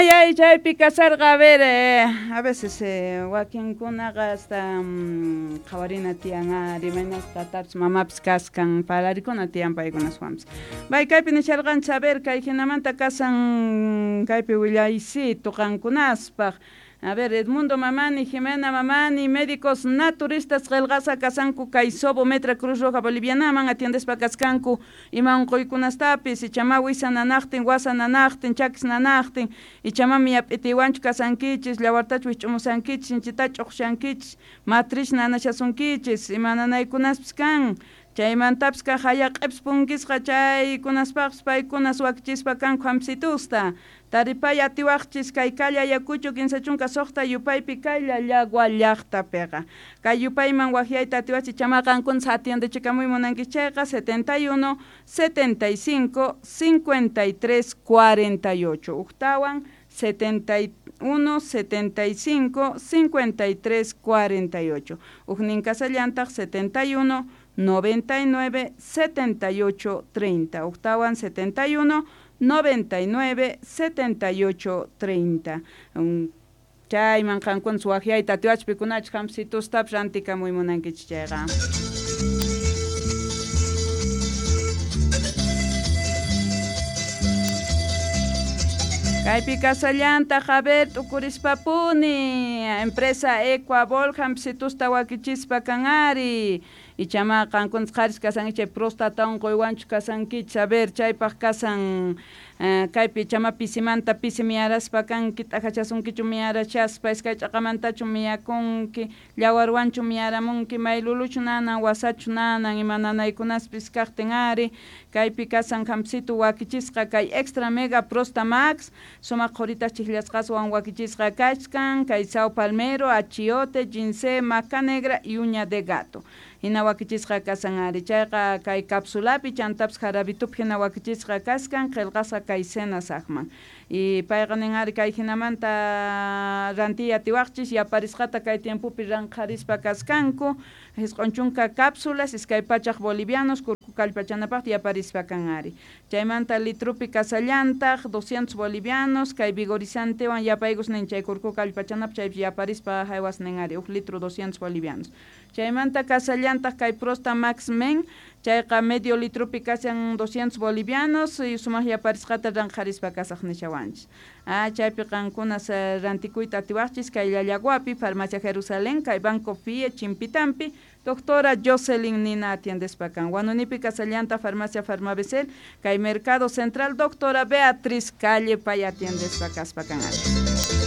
Ay, chaypi kasarqa, a ver, a veces wakinkunaqa hasta qhawarina tiyan ari, imaynas tatapis mamapis kaskan, parlarikuna tiyan paykunaswanpis. Bay kaypi nisharqanchis, a ver, kay hinamanta kasan kaypi willaysitu qankunaspaq. A ver, Edmundo Mamani, Jimena Mamani, médicos naturistas qillqasqa kasanku kay Sobo Metra Cruz Roja Bolivianaman atiendespa kaskanku ima unquykunastapis, ichama wisa nanaqtin, wasa nanaqtin, chakis nanaqtin, ichama miyap'itiwanchu kasankichis, llawartachu wich'umusankichis, sinchitachu ch'uqshankichis, matriz nanashasunkichis, ima nanaykunaspis kan. Chaymantapis kaq hayaq'ipis punkisqa chaykunaspaqpis paykunas wakichispa kanku hampsitusta. Taripay atiwaqchis kay calle Ayacucho 36 yupaypi kay Llallagua llaqtapiqa. Kay yupayman waqyayta atiwachis ichama qankunas atiendechikamuy munankichis chayqa 71 75 53 48 uktawan 71 75 53 48 uknin kasallantaq 71 99 78 30 uktawan 71 99 78 30. Chayman qankunas waqyayta atiwachis pikunachus hampsitustapis rantikamuy munankichis chayqa. Kaypi kasallantaq, a ver, t'ukurispapuni, empresa Ecuabol hampsitusta wakichispa kan ari. Ichama qankunas qharis kasankichis chay próstata unquywanchu kasankichis, a ver, chaypaq kasan kaypi ichama pisimanta pisi miyaraspa kanki, t'ajachasunkichu miyarachaspa, iskay ch'aqamantachu miyakunki, llawarwanchu miyaramunki, mayluluchu nanan, wasachu nanan, ima nanaykunaspis kaqtin ari, kaypi kasan hampsitu wakichisqa kay Extra Mega Prosta Max, sumaq qhuritas chijllasqaswan wakichisqa kachkan, kay Sao Palmero, achiote, ginseng, maca negra y uña de gato. Hina wakichisqa kasan ari, chayqa kay cápsulapi chantapis jarabitupi hina wakichisqa kaskan, qillqasqa kay senasaqman. Y payqa nin ari kay hinamanta rantiy atiwaqchis yaparisqata kay tiempopi ranqharispa kaskanku, 90 cápsulas, 200 bolivianos, kurku kallpachanapaq yaparispa kan ari. Chaymanta litrupi kasallantaq 200 bolivianos, kay vigorizantewan yapaykus nin chay kurku kallpachanapaq chaypi yaparispa haywas nin ari, 1 litro 200 bolivianos. Chaymanta kasallantaq kay Prosta Max Men, chayqa medio litrupi kasan 200 bolivianos, y sumaq yaparisqata ranqharispa kasaq nishawanchis. Chaypi qankunas rantikuyta atiwaqchis kay Llallaguapi, Farmacia Jerusalén, kay Banco FIE, Chimpitampi, doctora Jocelyn Nina atiendespa kan. Huanunipi kasallanta Farmacia Farmabecel, kay Mercado Central, doctora Beatriz Calle pay atiendespa kaspa kan ari.